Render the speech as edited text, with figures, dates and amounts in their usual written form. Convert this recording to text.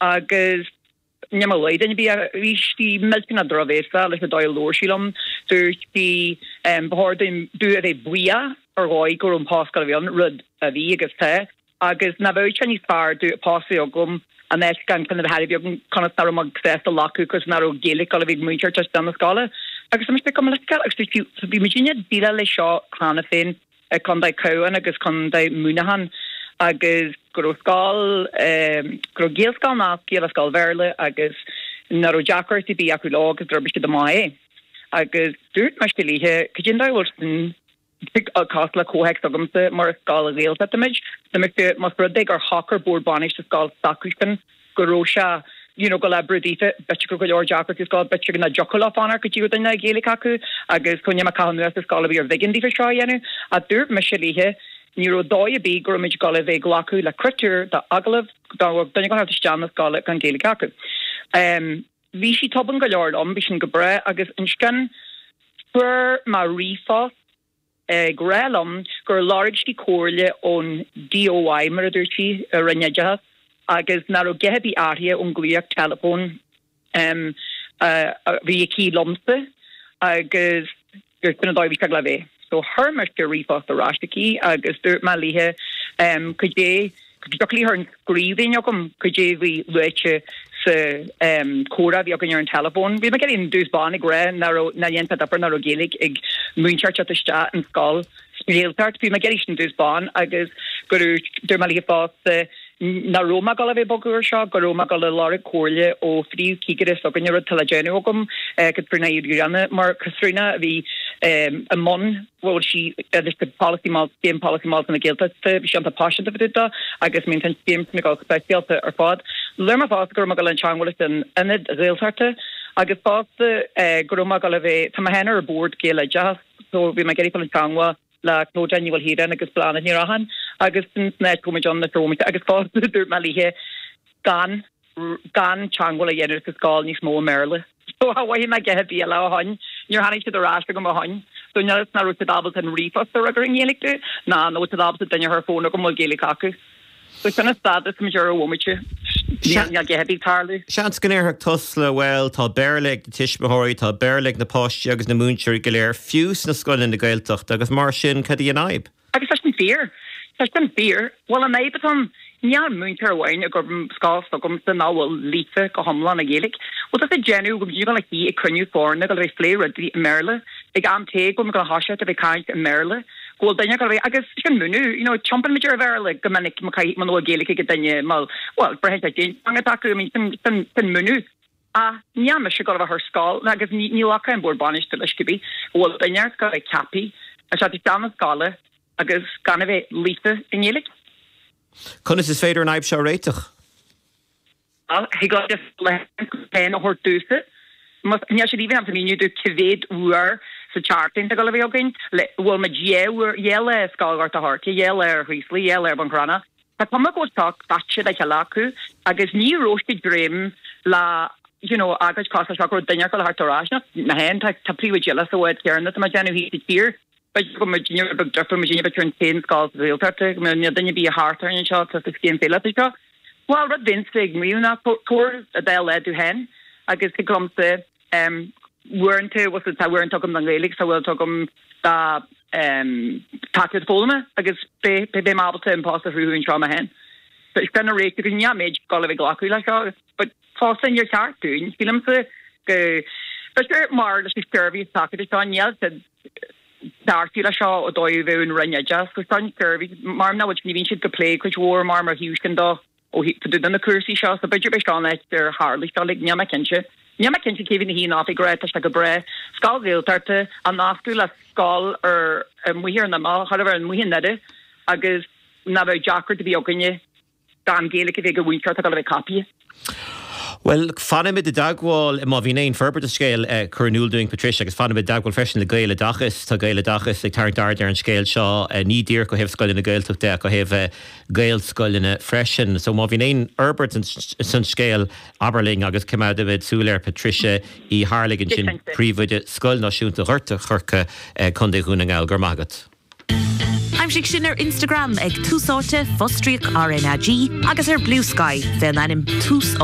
Agus níl mé ag luí duine ar bith bhí sí millteanach drochbhéasach leis an dóigh a labhair sí liom. Dúirt sí ba chóir dúinn domh a bheith buíoch ar dhóigh go raibh an post ag gabháil a bheith ann, rud a bhí agus tá. Agus nach bheadh sé níos fearr domh post a bheith agam in áit gan ceann a bheith agam conas nach raibh mé sásta glacadh cos nach raibh Gaeilge ag gabháil a bheith ag múinteoir teacht isteach na scoile. Agus tá mise ag gabh mo leithscéal agus dúirt sí bhí muidinne ag déileáil leis seo cheana féin i Contae Cabhán agus Contae Muineachán agus go raibh scoil go raibh Gaelscoil nasctha le scoil Bhéarla agus nach raibh deacracht ar bith acu leo agus d'oibrigh siad amach é. Agus dúirt mise léithe cad é an dóigh a bhfuil sin cosúil le comhthéacs s'agamsa mar is scoil Ghaeltachta muid. Tá mise, más rud é gur shocair bord bainistithe scoil s'acusan go raibh sé you know ag gabháil a oibriú daofa, b'fhéidir go raibh go leor deacrachtaí sa scoil, b'fhéidir nach dtiocfadh leo fanacht go dtí go raibh duine Gaeilge acu agus níl mé ag caitheamh anuas ar scoil ar bith ar bh'éigean daofa seo a dhéanamh. Ach dúirt mise léithe ní raibh dóigh ar bith go raibh muid ag gabháil a bheith ag glacadh le critéir d'agallamh dá mbeadh duine ag gabháil a theacht isteach na scoile gan Gaeilge acu. Bhí sí tobann go leor liom, bhí sin go breá agus ansin fuair mé ríomhphost ag rá liom gur lorg sí comhairle ón DOI, mar a dúirt sí, i Roinn Oideachais agus nach raibh a dhath ar bith athraithe ón glaoch teileafóin a bhí aici liomsa agus gur sin an dóigh a bhí sé ag gabháil a bheith. So chuir mise ríomhphost ar ais aici agus dúirt mé léithe cad é, go dtiocfadh léi a chur i scríbhinn chugam cad é a bhí luaite sa chomhrá a bhí againn ar an teileafón. Bhí mé ag iarraidh i dtús báire ag rá nach raibh, nach ndéanfadh difear nach raibh Gaeilge ag múinteoir teacht isteach an scoil sa Ghaeltacht. Bhí mé ag iarraidh sin i dtús báire agus go raibh, dúirt mé léithe fosta nach raibh mé ag gabháil a bheith ag bogadh ar seo, go raibh mé ag gabháil a lorg comhairle ó phríomhchigire s'againne, rud atá le déanamh agam, Caitríona Uí Ghrianna, mar Caitríona a bhí i mbun, bhuel sí agus the policy mol, scéim polasaí molta na Gaeltachta, bhí sí iontach paiseanta fá dtaobh dó agus I mean tá an scéim sin ag dul speisialta ar fad. Labhair mé fosta go raibh mé ag gabháil a teangmháil leis an Ionad Ghaeltachta agus fosta go raibh mé ag gabháil a bheith, tá mé féin ar bord Gaeloideachas so bhí mé ag iarraidh fáil i dteangmháil le Clodagh Ní Mhaoilchiaráin agus Bláthnaid Ní Rathacháin agus san áit go raibh muid ann na drómaite agus fosta dúirt mé léithe gan gan teangmháil a dhéanamh sa scoil níos mó i mBéarla. So cha mhothaigh mé a dhath ar bith eile ó shoin. Níor tháinig siad ar ais chugam ó shoin. So níl fhios an raibh siad ábalta an ríomhphost a fhreagairt i nGaeilge domh ná an bhfuil siad ábalta duine a chur fón chugam a bhfuil Gaeilge acu. So sin an stádas atá muid air ar an bhomaite. Níl a dhath ar bith ag tarlú. Seans go ndéarfadh Tusla, bhuel, tá Béarla ag na tuismitheoirí, tá Béarla ag na páistí agus na múinteoirí go léir, fiú sna scoileanna Gaeltachta, agus mar sin, cad í an fhadhb? Agus tá sin fíor. Tá sin fíor. Bhuel, an fhadhb atá ann, níl múinteoir amháin ag obair sa scoil s'agamsa nach bhfuil líofa go hiomlán i nGaeilge. Bhuel, tá sé ag déanamh go bhfuil ag suí ag cruinniú foirne ag gabháil a bheith ag plé rudaí i mBéarla, ag am tae go bhfuil muid ag gabháil a thoiseacht a bheith ag caint i mBéarla, go bhfuil duine ag gabháil a bheith, agus sin múineadh, you know, tiompaíonn muid ar Bhéarla go minic má caithfidh, muna bhfuil Gaeilge ag duine, má, bhuel, braitheann sé cén teanga atá acu, I mean, sin, sin, sin múineadh. Ach níl mise ag gabháil a bheith ar scoil, agus ní, ní ghlacfaidh an bord bainistithe leis cibé, go bhfuil duine ar scoil a bheith ceaptha a theacht isteach na scoile agus gan a bheith líofa i nGaeilge. Conas is féidir an fhadhb seo a réiteach? Bhuel, thig leo just laethanta féin a thabhairt domhsa. Más, níl siad even ábalta míniú domh cá mhéad uair sa tseachtain tá ag gabháil a bheith againn, le, bhfuil muid dhá uair, dhá lá i Scoil Ghort a' Choirce, dhá lá ar Chraoslaigh, dhá lá ar Bhun Cranncha. Tá cuma go bhfuil seo caite le chéile acu agus ní raibh siad ag dréim le you know agóid cosúil leis seo go raibh duine ag gabháil a theacht ar ais. Nach mé féin, tá tá príomhoidí eile sa bhád céanna atá mé ag déanamh thíos sa tír. B'fhéidir go bhfuil muidinne rud beag difriúil, muidinne b'fhéidir an t-aon scoil sa Ghaeltacht, go mbeadh níl duine ar bith thart orainn anseo atá sa scéim phíolóta seo. Bhuel, rud a bheinnse ag maíomh ná tabhair an dá lá domh féin agus thig liomsa uaireanta, bhuel tá uaireanta agam don Ghaeilge, tá uaireanta agam do tacaíocht foghlama agus beidh mé ábalta an post a chruthú anseo mé féin. Sin an réiteach agus níl mé ag gabháil a bheith ag glacadh leis seo but fosta níor cheart dúinn, sílimse go b'fhéidir mar leis an seirbhís tacaíochta seo níl siad ceartú leis seo ó dóigh a bheadh an Roinn Oideachais agus an tseirbhís mar nach bhfuil ní bhíonn siad ag plé cuid mhór mar mar thaobh sin dó ó thaobh de na cúrsaí seo so b'fhéidir b'é seo an áit ar tharla seo like níl mé cinnte. Níl mé cinnte cé bhí ina shuí in oifig ag rá tá sé go breá. Scoil Ghaeltachta á nascadh le scoil ar amuigh ar an imeall, chóir a bheith amuigh i nDoire agus nach bheadh deacracht ar bith againne gan Gaeilge a bheith ag an mhúinteoir atá ag dul a bheith ceaptha. Bhuel, fanfaimid i dteagmháil, má bhíonn aon forbairt sa scéal, cuir in iúl dúinn, Patricia, agus fanfaimid i dteagmháil freisin le Gaeloideachas. Tá Gaeloideachas ag tarraingt aird ar an scéal seo, ní díreach ó thaobh scoileanna Gaeltachta de ach ó thaobh Gaelscoileanna freisin. So má bhíonn aon fhorbairt san scéal, abair linn agus coimeádfaimid súil air. Patricia Uí Tharlaigh ansin, Príomhoide Scoil Náisiúnta Ghort a' Choirce, Contae Dhún na nGall. Go raibh maith agat. Aimsigh sinn ar Instagram ag Tús Áite, fostríoc RnaG, agus ar Bluesky fén ainm Tús.